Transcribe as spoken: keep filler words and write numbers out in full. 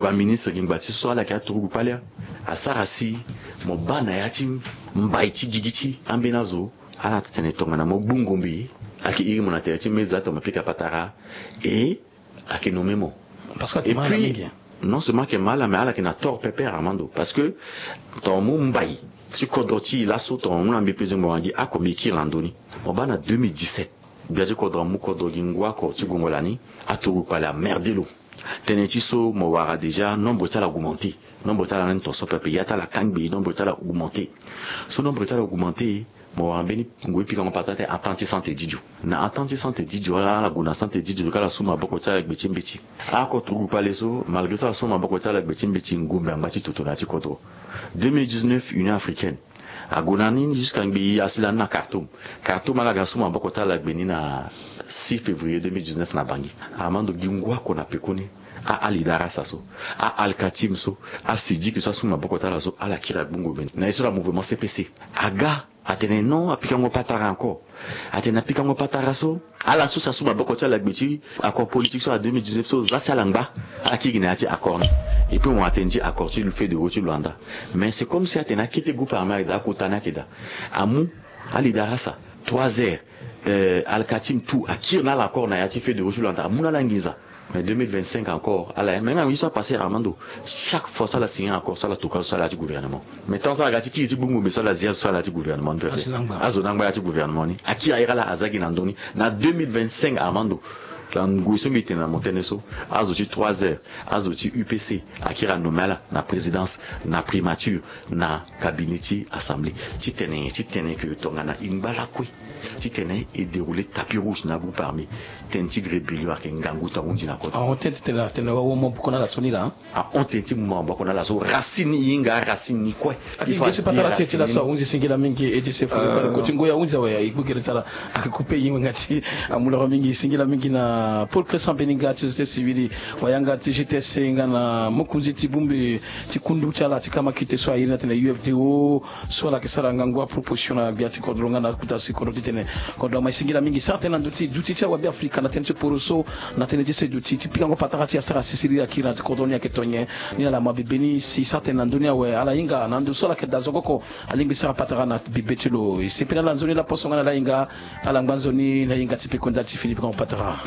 Baministre gi ngba ti so ala yeke aturugu kpale. Asara si mo baa na ya ti mbai ti gigi ti ambeni azo. Ala tene tongana mo gbu ngombe, ayeke iri mo na tere ti meza tongana mo pika patara. E ayeke nommé mo. Parce que ayeke mal mingi. Non seulement ayeke mal, mais ala yeke na tort pepe, Armando, parce que tongana mo mbai ti kodro ti e laso, tongana mo na mbi pe zengo wangi ako mbi kiri na ndö ni. Mo baa na deux mille dix-sept, gbia ti kodro amu kodro gi ngu oko ti gongo lani. Aturugu kpale amerde lo. Tënë ti so mo wara déjà, nombre ti ala augmenté. Nombre ti ala ni tonso pepe, ya ti ala kangbi, nombre ti ala augmenté. So nombre ti ala augmenté, mo wara mbeni ngoi pikango patara ti entente ti Sante Didio. Na entente ti Sante Didio, ala ala gue na Sante Didio ka ala su maboko ti ala gbe ti mbeti. Oko turugu kpale so, malgré so ala su maboko ti ala gbe ti mbeti, ngombe angba ti toto na ya ti kodro. Deux mille dix-neuf, Union africaine ague na ni jusqu'à ngbii, asi lani na Khartoum. Khartoum ala ga su maboko ti ala gbe ni na six février deux mille dix-neuf na Bangui. Armando, gi ngu oko na pekoni, a Ali Darasa so, a Al Katim so, a Sidiki so asu maboko ti ala so, ala kiri agbu ngombe ni na ye so na mouvement C P C. Aga atene non, apikango patara encore. Atene apikango patara so, ala so si asu maboko ti ala gbe ti accord politique so na deux mille dix-neuf so, za si ala ngba, ala kiri gi na ya ti accord ni. Et puis mo atene ti accord ti feu de route ti Luanda. Mais c'est comme si atene akete groupe armé ayeke daa, akota ni ayeke daa. Amu Ali Darasa, trois heures, euh, Al Katim tout akiri na ala encore na ya ti feu de route ti Luanda, amu na ala nginza. Mais deux mille vingt-cinq encore, ala, mais nga ngi so apassé, Armando, chaque fois so ala signé accord so, ala toka so, so ala ya ti gouvernement. Mais tant so ala ga ti kiri ti gbu ngombe so, ala zia so, so ala ya ti gouvernement ni pepe. Azo ni angba ya ti gouvernement ni. Akiri airi ala, aza gi na ndö ni. Na deux mille vingt-cinq, Armando, na ngoi so mbi tene na mo tënë so, azo ti trois heures, azo ti U P C akiri anommé ala na présidence, na primature, na cabinet ti assemblée. Titene, titene ke tongana e ngba lakue, titene e déroulé tapis rouge na groupe armé. Tënë ti rébellion ayeke ngangu ti ahunzi na kota. Ahon tënë ti tene, atene wawa maboko na ala so ni laa. Ahon tënë ti mu maboko na ala so, racine e hinga, racine ni kue. Ake gi gese patara ti e ti laso ahunzi singila mingi. E ti se fo koti ngoi ahunzi awe, e gbu gere ti ala. Ake kupe e hinga ti amoloro mingi, singila mingi na Paul Crescent Beninga ti société civile, wayanga ti G T S, nga na mokonzi ti bumbe ti kundu ti ala ti kamakite so a iri ni atene U F D O, so ala yeke sara ngangu aproposition na gbia ti kodro nga na kota si kodro titene kodro ama e singila mingi. Sara tënë na ndö ti duti ti awabe Afrika na tënë ti poroso, na tënë ti se duti ti pikango patara ti asara sisiri akiri na ti kodro ni ayeke tonye. Ni ala ma bibe ni si sara tënë na ndö ni awe, ala hinga na ndo so ala yeke daa zo oko, alingbi sara patara na bibe ti lo. E sepela ala nzoni laposo nga na ala hinga, ala ngba nzoni na hinga ti peko nda ti fini pikango patara.